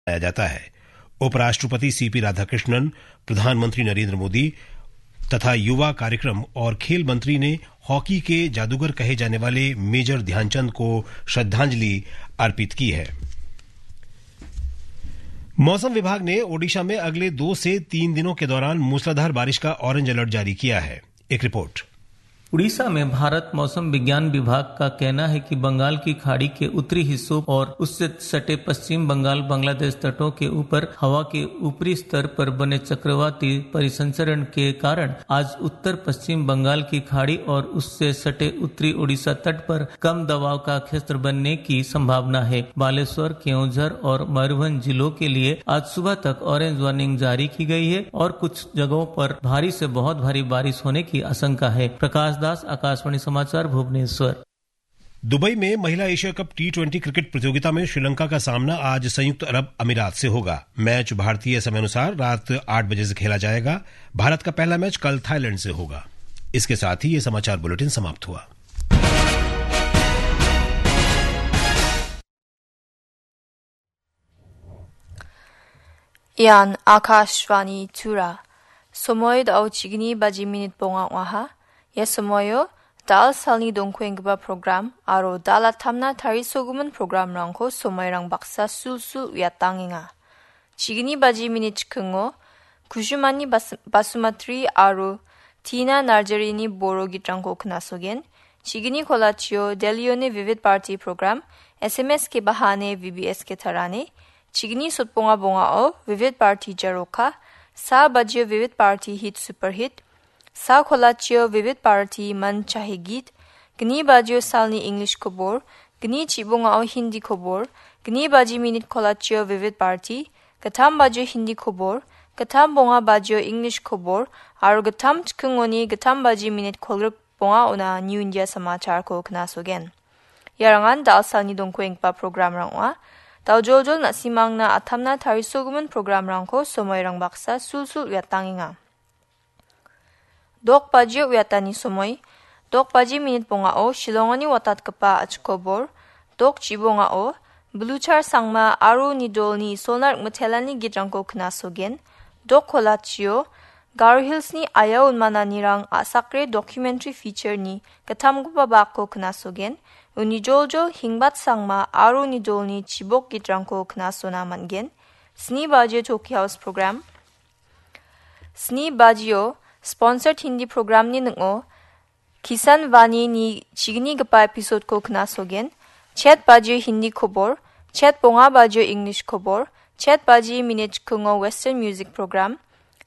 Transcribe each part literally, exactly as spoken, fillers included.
मनाया जाता है। उपराष्ट्रपति सीपी राधाकृष्णन, प्रधानमंत्री नरेंद्र मोदी तथा युवा कार्यक्रम और खेल मंत्री ने हॉकी के जादूगर कहे जाने वाले मेजर ध्यानचंद को श्रद्धांजलि अर्पित की है। मौसम विभाग ने ओडिशा में अगले दो से तीन दिनों के दौरान मूसलाधार बारिश का ऑरेंज अलर्ट जारी किया है। एक रिपोर्ट। उड़ीसा में भारत मौसम विज्ञान विभाग का कहना है कि बंगाल की खाड़ी के उत्तरी हिस्सों और उससे सटे पश्चिम बंगाल, बांग्लादेश तटों के ऊपर हवा के ऊपरी स्तर पर बने चक्रवाती परिसंचरण के कारण आज उत्तर पश्चिम बंगाल की खाड़ी और उससे सटे उत्तरी उड़ीसा तट पर कम दबाव का क्षेत्र बनने की संभावना है। बालेश्वर, केओंझर और मयूरभंज जिलों के लिए आज सुबह तक ऑरेंज वार्निंग जारी की गई है और कुछ जगहों पर भारी से बहुत भारी बारिश होने की आशंका है। प्रकाश दास, आकाशवाणी समाचार, भुवनेश्वर। दुबई में महिला Asia cup T twenty cricket प्रतियोगिता में श्रीलंका का सामना आज संयुक्त अरब अमीरात से होगा। मैच भारतीय समय अनुसार रात आठ बजे से खेला जाएगा। भारत का पहला मैच कल थाईलैंड से होगा। इसके साथ ही ये समाचार बुलेटिन समाप्त हुआ। Ian Akashvani Tura. Somoi dao chigni baji minit bonga ong·aha. Ia somoio dal salni dongkuenggipa program aro dal attamna tarisogimin programrangko somoirang baksa sulsul uiatangenga. Chigni baji minit chikingo Kushumani Bas-, Basumatri aro Tina Narjarini boro gitrangko knasogen. Chigni kolachio Delione Vivid Party program, S M S ke bahane V B S ke tarane. Chigni sotbonga bongao Vivid Party Jaroka, sa bajio Vivid Party Hit Super Hit, sa kolachio Vivid Party Man Chahe Geet, gni bajio salni English kobor, gni chibongao Hindi kobor, gni baji minit kolachio Vivid Party, gittam bajio Hindi kobor, gittam bonga bajio English kobor, aro gittam chikingoni gittam baji minit kolgrik bongaona New India Samacharko knasogen. Iarangan dal salni dongkuenggipa programrang ong·a. Daojoljol na·simangna attamna tarisogimin programrangko somoirang baksa sulsul uiatangenga. Dok bajio uiatani somoi, dok baji minit bongao Shillongoni watatgipa achikobor, dok chibongao Bluchar Sangma aro Nidolni Isolna Rikmitelani gitrangko knasogen, dok kolachio Garo Hillsni ayao unmananirang a·sakre documentary featureni gittamgipa bakko knasogen, uni joljol Hingbat Sangma aro Nidolni chibok gitrangko knasona man·gen, sni bajio Tokyo House program, sni bajio sponsored Hindi programni ning·o Kisan Vani ni chignigipa episode-ko knasogen, chet bajio Hindi kobor, chet bonga bajio English kobor, chet baji minit chikingo Western music program,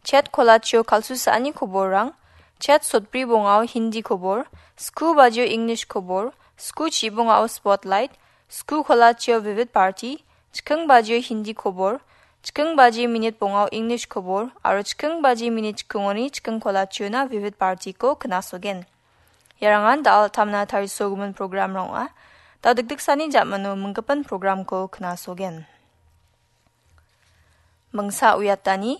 chet kolachio kalsu sa·ani koborrang, chet sotbri bongao Hindi kobor, sku bajio English kobor, sku chibongao Spotlight, sku kolachio Vivid Party, chiking bajio Hindi kobor, chiking baji minit bongao English kobor, aro chiking baji minit chikingoni chiking kolachiona Vivid Party-ko knasogen. Iarangan dal tamna tarisogimin programrang ong·a. Dal dikdiksani jamano minggipin programko knasogen. Mingsa uiatani,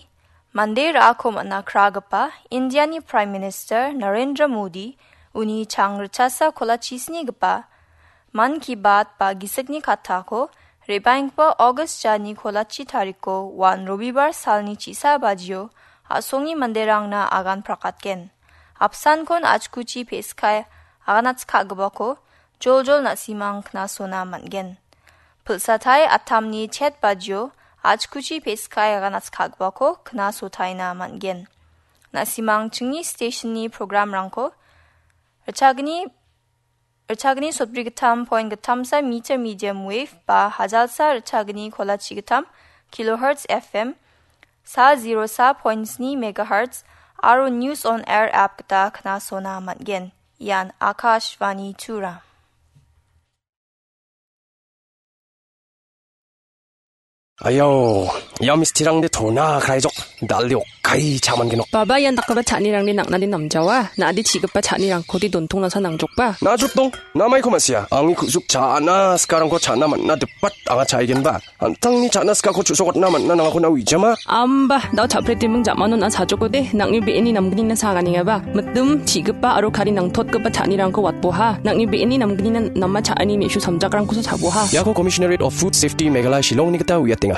mande ra·ako man·a kragipa Indiani Prime Minister Narendra Modi uni chang richasa kolachisnigipa Mann Ki Baat ba Gisikni Kattako re·baenggipa August jani kolachi tariko wan Robibar salni chisa bajio a·songni manderangna agan prakatgen. Apsankon achkuchi pe·skai aganatskagipako joljol na·simang knasona man·gen. Pilsatai atamni chet bajio achkuchi pe·skai aganatskagipako knasotaina man·gen. Na·simang chingni stationni programrangko richagni, richagni sotbri gittam point gittamsa meter medium wave ba hajalsa richagni kolachi gittam kilohertz F M, sa zero sa point sni megahertz aro News on Air app gita knasona man·gen. Ian Akashvani Tura. Ayao, ia mistirangde tona kraijok, dalde okkai chaman genok. Baba, ian dakgipa cha·nirangde nang·nade namjawa, na·ade chi·gipa cha·nirangkode dontong nasa nangjokba. Na·jotdong, namaiko ma·sia, angni ku·suk cha·na sikarangko cha·na man·na dipat anga cha·aigenba. An·tangni cha·na sikako chu·sokatna man·na nangako na uijama. Amba, dao cha·pretiming jamano na·a chajokode, nang·ni be·eni namgnina saganengaba. Mitim, chi·gipa aro kari nangtotgipa cha·nirangko watboha. Nang·ni be·eni namgnina nama cha·ani me·su samjakrangkosa chaboha. Iako Commissionerate of Food Safety Meghalaya Shillongni gita uiatenga.